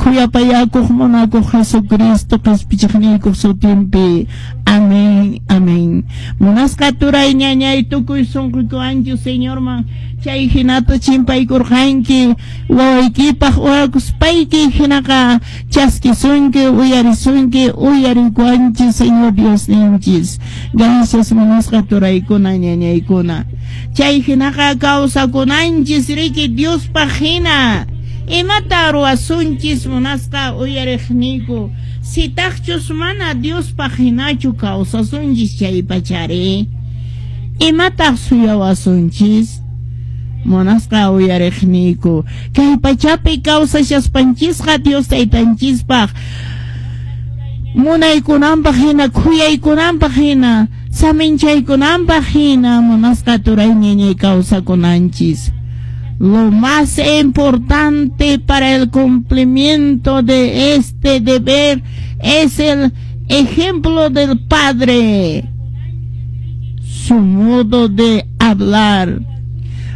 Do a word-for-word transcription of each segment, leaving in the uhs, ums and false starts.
Khuyapayakuq munakuq Jesucristo qespichiqniykuq sutinpi. Amén, amén. Munasqa turay ñañay tukuy sunquykuwanchu Señorman chay hinata chimpaykurqanki wawaykipaq orakuspayki hinaqa chaskisunki uyarisunki uyarikuwanchis Señor Diosninchis. Gracias munasqa turaykuna ñañaykuna. Chay hinaqa kawsakunanchis riki Diospaq hina. Imata ruwasunchis munasqa uyariqniyku sitaqchus mana Diospaq hinachu kawsasunchis chay pachari. Imataq suyawasunchis munasqa uyariqniyku kay pachapi kawsashaspanchisqa Dios taytanchispaq munaykunanpaq hina khuyaykunanpaq hina saminchaykunanpaq hina munasqa turay ñañay kawsakunanchis. Lo más importante para el cumplimiento de este deber es el ejemplo del Padre, su modo de hablar.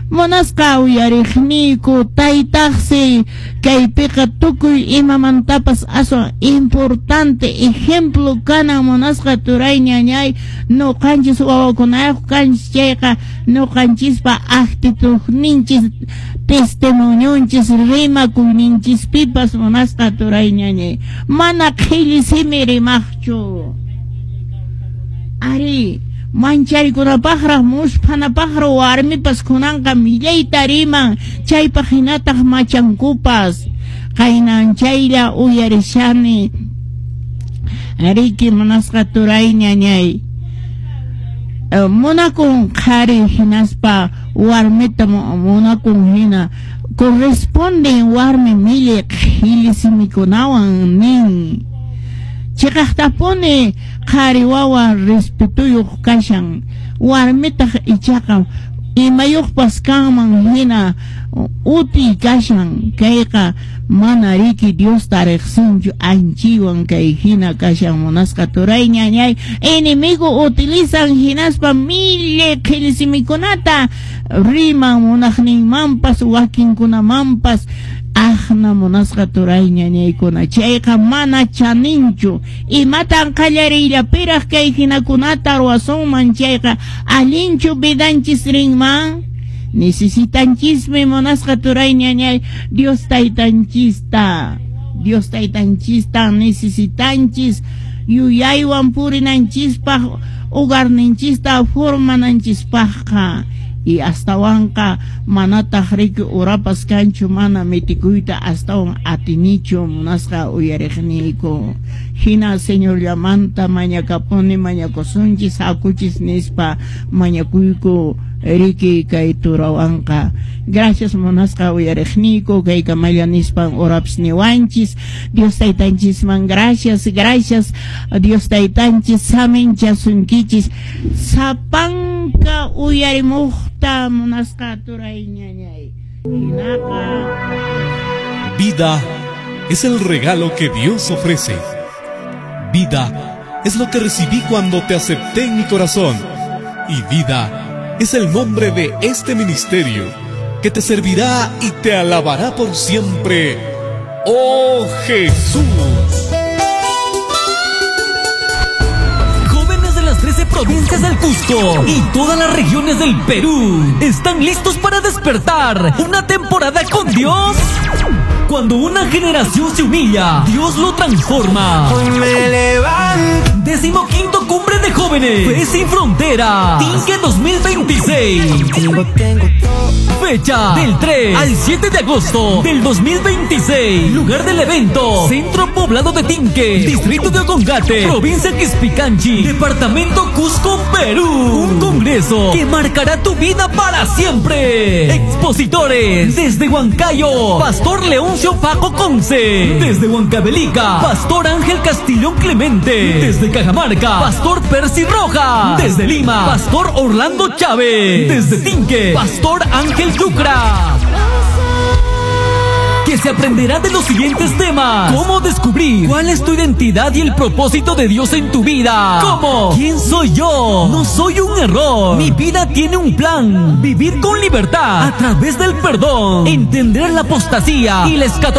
Munasqa uyariqniyku taytaqsi kaypiqa tukuy imamantapas aswan importante ejemplo kanan munasqa turay ñañay nuqanchis wawakunayuq kanchis chayqa nuqanchispa actitudninchis testimonionchis rimakuyninchispipas munasqa turay ñañay mana qhilli simi rimaqchu. Ari manchariykunapaqraq musphanapaqraq warmipas kunanqa millayta riman chaypaq hinataq machankupas qaynan chaylla uyarishani riki munasqa turay ñañay munakun qhari hinaspa warmita munakun hina corresponden warmi millay qhilli simikunawan nin. Chiqaqtapuni qhari wawa respetuyuq kashan warmitaq ichaqa imayuqpas kanman hina uti kashan kayqa mana riki Diosta riqsinchu anchiwan kay hina kashan munasqa turay ñañay enemigo utilizan hinaspa millay qhilli simikunata riman munaqninmanpas wakinkunamanpas aqna munasqa turay ñañaykuna chayqa mana chaninchu imatan qallariyllapiraq kay hinakunata ruwasunman chayqa allinchu vidanchis rinman. Necesitanchismi munasqa turay ñañay Dios taytanchista Dios taytanchista necesitanchis yuyaywan purinanchispaq hogarninchista formananchispaqqa. Y astawanqa manataq riki urapas kanchu mana mitikuyta astawan atinichu munasqa uyariqniyku. Hina Señorllamanta mañakapuni mañakusunchis hakuchis nispa mañakuyku riki kay turawanqa. Gracias munasqa uyariqniyku kay kamalla nispan urapas niwanchis. Dios taytanchisman gracias, gracias Dios taytanchis saminchasunkichis sapanka uyarimuqta munasqa turay ñañay. Hinaqa vida es el regalo que Dios ofrece. Vida es lo que recibí cuando te acepté en mi corazón. Y vida es el nombre de este ministerio que te servirá y te alabará por siempre. ¡Oh Jesús! Jóvenes de las trece provincias del Cusco y todas las regiones del Perú, ¿están listos para despertar una temporada con Dios? Cuando una generación se humilla, Dios lo transforma. Hoy me levanto. Décimo quinto Cumbre de Jóvenes, Fe Sin Frontera, Tinque dos mil veintiséis. Tengo, tengo todo. Fecha del tres al siete de agosto del dos mil veintiséis. Lugar del evento: Centro Poblado de Tinque, Distrito de Ocongate, Provincia Quispicanchi, Departamento Cusco, Perú. Un congreso que marcará tu vida para siempre. Expositores desde Huancayo, Pastor Leoncio Paco Conce. Desde Huancavelica, Pastor Ángel Castillón Clemente. Desde Cajamarca, Pastor Percy Rojas. Desde Lima, Pastor Orlando Chávez. Desde Tinque, Pastor Ángel Yucra. Que se aprenderá de los siguientes temas: cómo descubrir cuál es tu identidad y el propósito de Dios en tu vida, cómo, quién soy yo, no soy un error, mi vida tiene un plan, vivir con libertad a través del perdón, entender la apostasía y la escatología.